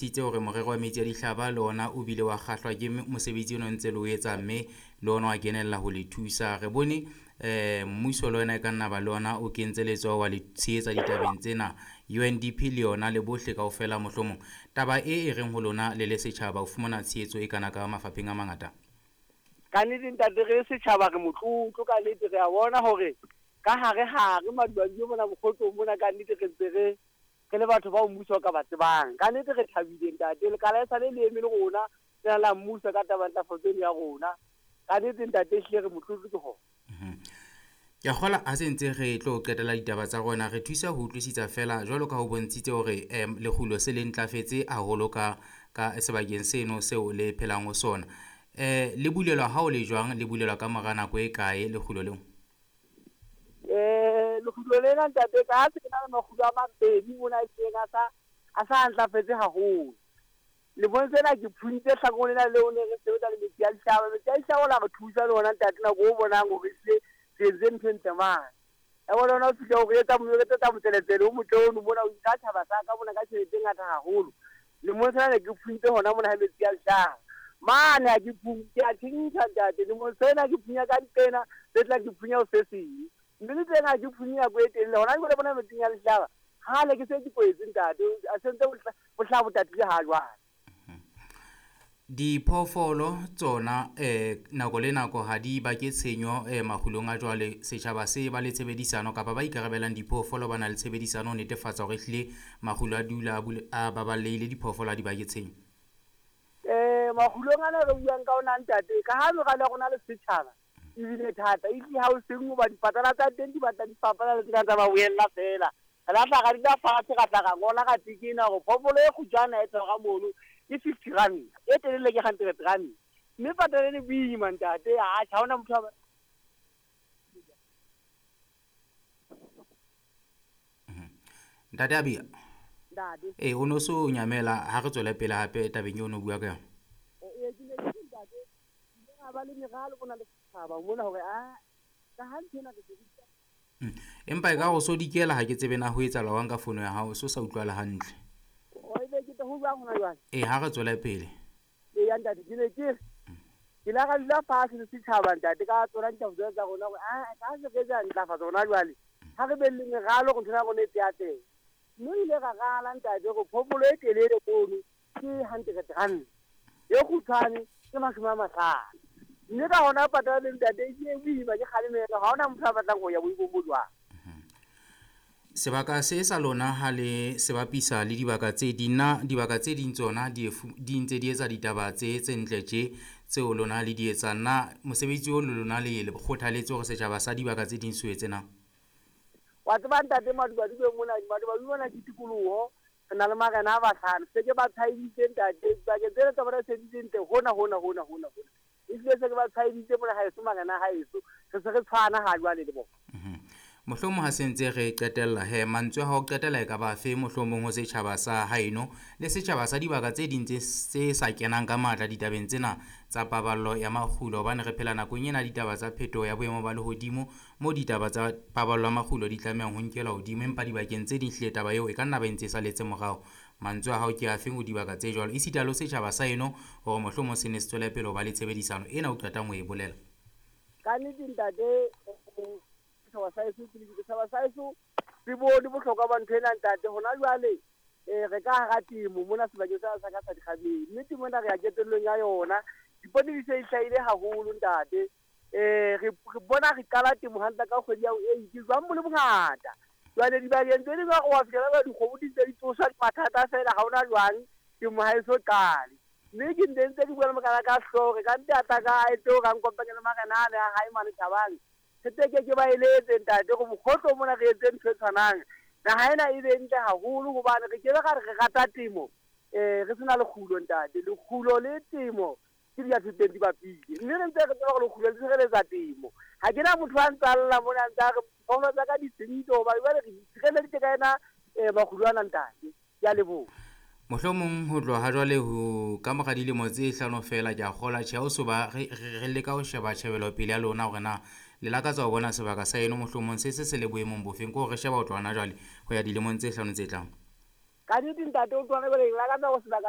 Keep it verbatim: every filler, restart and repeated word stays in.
Titse hore morero wa metsi a dihlaba le ona o bile wa kgahlwa ke mosebetsi ono ntse le o etsa, mme le ona wa kenella ho le thusa. Re bone eh mmuso le wena e ka nna ba le ona o kentse letsoho wa le tshehetsa ditabeng tsena. U N D P le yona le bohle kaofela mohlomong. Taba e e reng ho lona le le setjhaba ho fumana tshehetso e kana ka mafapheng a mangata. Ka nnete ntate re setjhaba re motlotlo ka nnete, re a bona hore ka hare hare Maduadue mona Mokgotlong mona ka nnete re ntse re re le batho bao mmuso o ka ba tsebang. Ka nnete re thabile ntate, lekala e sale le eme le rona lena la mmuso ka taba ntlafatso eno ya rona. Ka nnete ntate ehlile re motlotlo ke hona. Ke a kgolwa ha se ntse re tlo qetela ditaba tsa rona, re thusa ho utlwisisa fela jwalo ka ho bontshitse hore um lekgulo se le ntlafetse haholo ka ka sebakeng seno seo le phelang ho sona. Eh le bulelwa ha o le jwang, le bulelwa ka mora nako e kae lekgulo leo? Eh lekgulo lena ntate ka se ke na le makgulo a mabedi mona e seng a sa a sa ntlafetse haholo. Le bontshe na ke phuntse hlakong lena leo ne re sebetsa le metsi a dihlaba. Metsi a dihlaba la re thusa le ona ntate nako o bonang hore ehlile re entse ntho e ntle mane. Ya bona ona o fihla o re etsa mo- re etsetsa motseletsele o motle ono mona, o nka tjhaba sa ka mona ka tjhelete e ngata haholo. Lemong sena ne ke phuntse hona mona ha metsi a dihlaba. Mane ha ke phunye, ke a tjhentjha ntate. Lemong sena ke phunya ka diqena, se tla ke phunya ho se seng. Mme le teng ha ke phunye nako e telele. Hona jwale bona metsing a dihlaba, kgale ke se ke kwetse ntate, a sentse bo hlaha bo tatile ha jwale. Diphoofolo tsona eh nako le nako ha di bake tshenyo eh makgulong a jwale. Setjhaba se ba le tshebedisano kapa ba ikarabelang diphoofolo ba na le tshebedisano ho netefatsa hore ehlile makgulo a dula a bule, a baballehile, diphoofolo ha di bake tshenyo. Eh makgulong ana re buang ka ona ntate, ka ha meralo ya rona le setjhaba ebile thata, ehlile ha o seng hoba dipatala tsa teng di batla di fapana le tsena tsa ba boella fela. Re la tla ra dula fatshe, ra tla ra ngola, ra tekena hore phoofolo e kgutshwane e tshwara mono ke fifty rand, e telele ke hundred rand. Mme patala e le boima ntate, atjhe ha hona motho a ba Ntate Abia. Ntate. Eh o no so nyamela ha re tswele pele hape tabeng eo o no bua ka yona. Eh ke ne ke re ntate, ke ra ba le meralo bona le setjhaba mona hore a ka ha ntho ena re se Empa e ka go so dikela ha ke tsebe na ho etsahala jwang ka fono ya hao, so sa utlwala hantle. O ebe ke tlo ho jwang hona jwale? Eh ha re tswele pele. Ee ya ntate, ke ne ke re ke la ra dula fatshe le setjhaba ntate ka tsona ditaba tsena tsa rona hore a ka se re etsa ntlafatso hona jwale. Ha re be le meralo hore ntho ya rona e tse atlehe. Mme re ile ra rala ntate hore phoofolo e telele mono ke hundred rand, e kgutshwane ke mashome a mahlano. Mme ka hona patala le ntate e ke boima, ke kgalemelo, ha hona motho a batlang ho ya boimong bo jwang. Sebaka se sa lona ha le se bapisa le dibaka tse ding, na dibaka tse ding tsona di efu, di ntse di etsa ditaba tse tse ntle tje tseo lona le di etsang. Na mosebetsi o le lona le le kgothaletse hore setjhaba sa dibaka tse ding se o etse na? Wa tseba ntate, Maduadue mona, Maduadue mona ke tikoloho, re na le marena a bahlano. Se ke ba tshwaeditse ntate, dibakeng tsena tsa bona se di ntle hona hona hona hona hona. Ehlile se ke ba tshwaeditse mona haeso, marena a haeso, re se re tshwana ha jwale le bona. Mohlomong ha se ntse re qetella he, mantswe a hao qetela e ka ba fe mohlomong ho setjhaba sa haeno le setjhaba sa dibaka tse ding tse, tse sa kenang ka matla ditabeng tsena tsa paballo ya makgulo, hobane re phela nakong ena ditaba tsa phetoho ya boemo ba lehodimo mo ditaba tsa paballo ya makgulo di tlamehang ho nkelwa hodimo, empa dibakeng tse ding hlile taba eo e ka nna ba e ntse e saletse morao. Mantswe a hao ke afe ho dibaka tse jwalo, esita le ho setjhaba sa eno hore mohlomong se ne se tswele pele ho ba le tshebedisano ena o qetang ho e bolela? Ka nnete ntate, setjhaba sa heso ke setjhaba sa heso se bone bohlokwa ba ntho ena ntate. Hona jwale eh re ka hara temo mona sebakeng sa sa ka sa Dikgabeng, mme temo ena re ya qetellong ya yona. Dipone di se di hlahile haholo ntate. Eh re, re bona re qala temo hantle ka kgwedi ya eight, jwang bo le bongata. Jwale dibakeng tse ding wa fihlela ba dikgomo di ntse di tsoswa ke mathata fela, ha hona jwang temo ha e so qale. Mme ke ntse ntse ke bua le mokana ka hlooho, re ka nte a tla ka a etse hore a nkopanye le marena ane a hae mane Thabang. Re teke ke ba eletse ntate hore mokgotlo mona re etse ntho e tshwanang. Naha ena e be ntle haholo hobane re ke be ra re re rata temo, eh re sena lekgulo ntate. Lekgulo le temo ke di a thoteng di bapile. Mme re ntse re tseba hore lekgulo le tshireletsa temo. Ha ke na motho a ntsa lla mona a ntsa re phoofolo tsa ka di senyehile hoba jwale re di tshireleditse ka ena, eh, makgulo ana ntate. Ke a leboha. Mohlomong ho tloha ha jwale ho ka mora dilemo tse hlano fela ke a kgolwa tjhe, ha o so ba re, re, re leka ho sheba tjhebelopele ya lona hore na le lakatsa ho bona sebaka sa eno mohlomong se se se le boemong bofeng, ke hore re sheba ho tloha hona jwale ho ya dilemong tse hlano tse tlang. Ka nnete ntate o tloha jwale ke lakatsa hore sebaka